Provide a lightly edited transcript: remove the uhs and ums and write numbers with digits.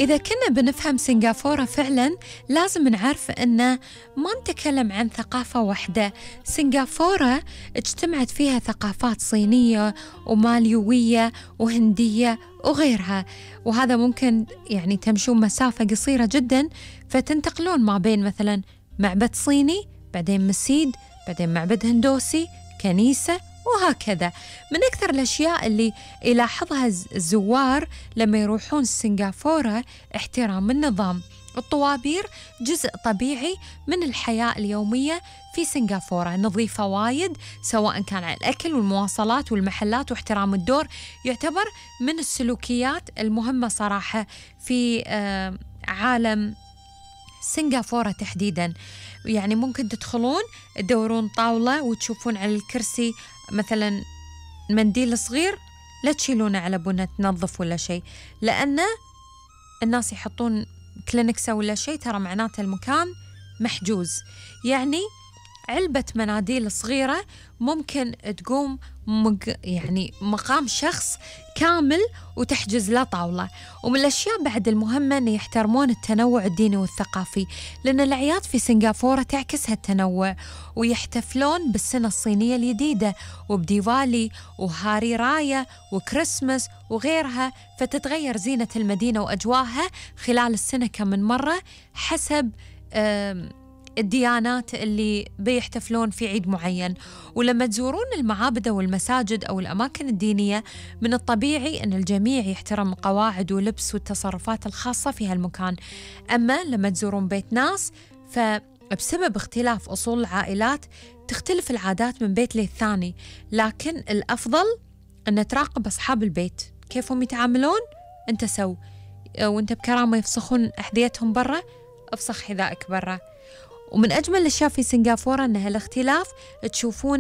إذا كنا بنفهم سنغافورة فعلا لازم نعرف أن ما نتكلم عن ثقافة واحدة. سنغافورة اجتمعت فيها ثقافات صينية وماليوية وهندية وغيرها، وهذا ممكن يعني تمشون مسافة قصيرة جدا فتنتقلون ما بين مثلا معبد صيني، بعدين مسجد، بعدين معبد هندوسي، كنيسة، وهكذا. من أكثر الأشياء اللي يلاحظها الزوار لما يروحون سنغافورة احترام النظام. الطوابير جزء طبيعي من الحياة اليومية في سنغافورة، نظيفة وايد سواء كان على الأكل والمواصلات والمحلات، واحترام الدور يعتبر من السلوكيات المهمة صراحة في عالم سنغافورة تحديداً. يعني ممكن تدخلون تدورون طاولة وتشوفون على الكرسي مثلاً منديل صغير، لا تشيلونه على بنا تنظف ولا شيء، لأن الناس يحطون كلينكسة ولا شيء ترى معناته المكان محجوز. يعني علبة مناديل صغيرة ممكن تقوم يعني مقام شخص كامل وتحجز له طاولة. ومن الأشياء بعد المهمة أن يحترمون التنوع الديني والثقافي، لأن الأعياد في سنغافورة تعكس هالتنوع، ويحتفلون بالسنة الصينية الجديدة وبديوالي وهاري رايا وكريسماس وغيرها، فتتغير زينة المدينة وأجواءها خلال السنة كم من مرة حسب الديانات اللي بيحتفلون في عيد معين. ولما تزورون المعابد والمساجد أو الأماكن الدينية من الطبيعي أن الجميع يحترم القواعد ولبس والتصرفات الخاصة في هالمكان. أما لما تزورون بيت ناس فبسبب اختلاف أصول العائلات تختلف العادات من بيت للثاني، لكن الأفضل أن تراقب أصحاب البيت كيفهم يتعاملون، أنت سو وأنت بكرامة يفسخون أحذيتهم برا، افسخ حذائك برا. ومن أجمل الأشياء في سنغافورة أن هالاختلاف تشوفونه